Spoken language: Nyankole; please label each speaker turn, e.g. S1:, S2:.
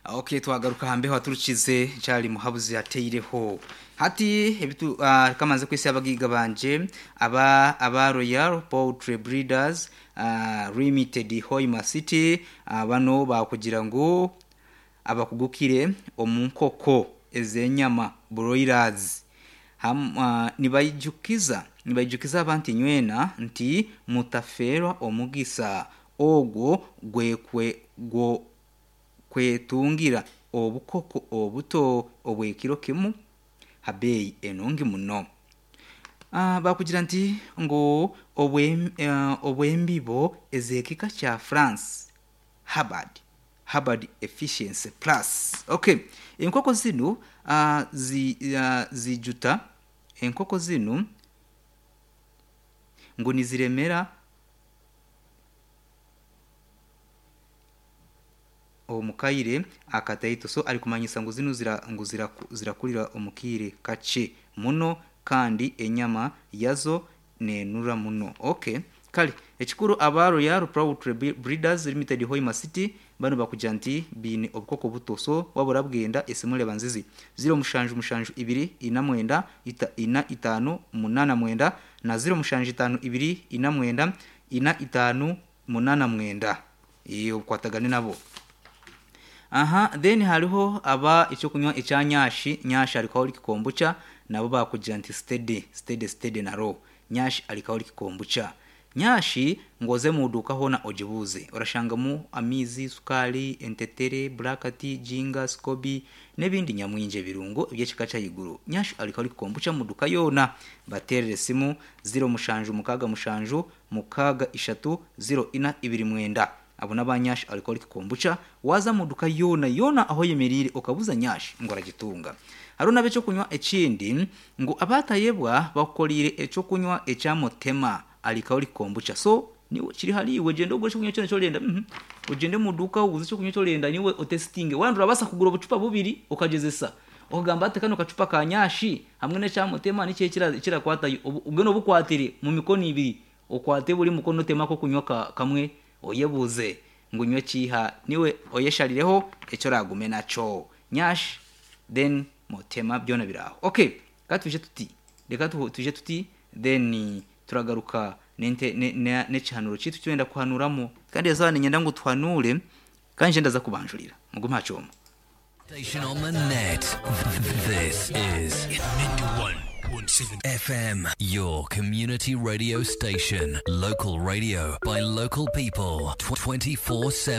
S1: Okay, twagaruka hambeho aturukize nkyali muhabuzi ateireho hati ebitu uh, kamanze kwisi abagiga banje aba aba Royal Poultry Breeders Limited Hoima City bano bakugira ngu abakugukire omu nkoko ez'enyama broilers ham, nibaijukiza nibaijukiza abantu inywena nti mutafeerwa omugisa ogwo gwekwe gwo kwetungira obukoko obuto obw'ekiro kimu ha beeyi enungi muno. Bakugira nti ngu obw'embibo ez'ekika kya France Hubbard, Hubbard Efficiency Plus. Okay, enkoko zinu zi, zijuta enkoko zinu ngu niziremera omu kaire akataito. So arikumanyisa ngu zinu zira, ngu zirakurira omu kaire kakye muno kandi enyama yazo nenura muno. Okay, kale ekikuru aba Royal Poultry Breeders Limited Hoima City banu bakugira nti biine obukoko buto. So waba orabwenda esimu reeba nzizi 0772 49 4 5 89 na 0752 49 4 5 89. Ee, okwatagane nabo. Aha, then hariho aba ekyokunywa ekya Nyashi, Nyashi Alcoholic Kombucha, nabo bakugira nti steady, steady, steady naro. Nyashi Alcoholic Kombucha. Nyashi ngu oze mu duuka hoona ogibuuze, orashangamu amaizi, sukaari, entetere, black tea, ginger, scoby n'ebindi nyamwingi ebirungo eby'ekika ky'ahaiguru. Nyashi Alcoholic Kombucha mu duuka yoona. Bateerere esimu 0767 6 3 04 29. Abo n'aba Nyash Alcoholic Kombucha, waaza omu duka yoona yoona ahu oyemereire okabuza Nyash ngu oragitunga. Hariho n'ab'eky'okunywa ekindi ngu abaatayebwa bakukoreire eky'okunywa ekya Motema Alcoholic Kombucha. So niiwe kiri hariiwe gyenda ogure eky'okunywa kyona eki orenda. Uhmm ogyende omu duuka oguze eky'okunywa eki orenda niiwe otesitinge. Waaba orabaasa kugura obucupa bubiri okagyezesa okagamba ati kanu kacupa ka Nyash hamwe n'ekya Motema niki ekirakwatayo. Mbwenu obukwatire omu mikono ibiri, okwate buri mukono otemu ak'okunywa kamwe Oyebuuze ngu nywe kiiha niwe oyesharireho eki oraagume nakyo. Nyash then Motema byona biri aho. Ok ka twije tuti reka twije tuti then turagaruka nente n'ekihanuuro kyaitu eki turenda kuhanuuramu. Kandi eizooba niinyenda ngu tuhanuure kandi nje ndaza kubanjurira. Mugume aha kyoma.
S2: Station on the net. This is 91.7 FM, your community radio station. Local radio by local people 24 7.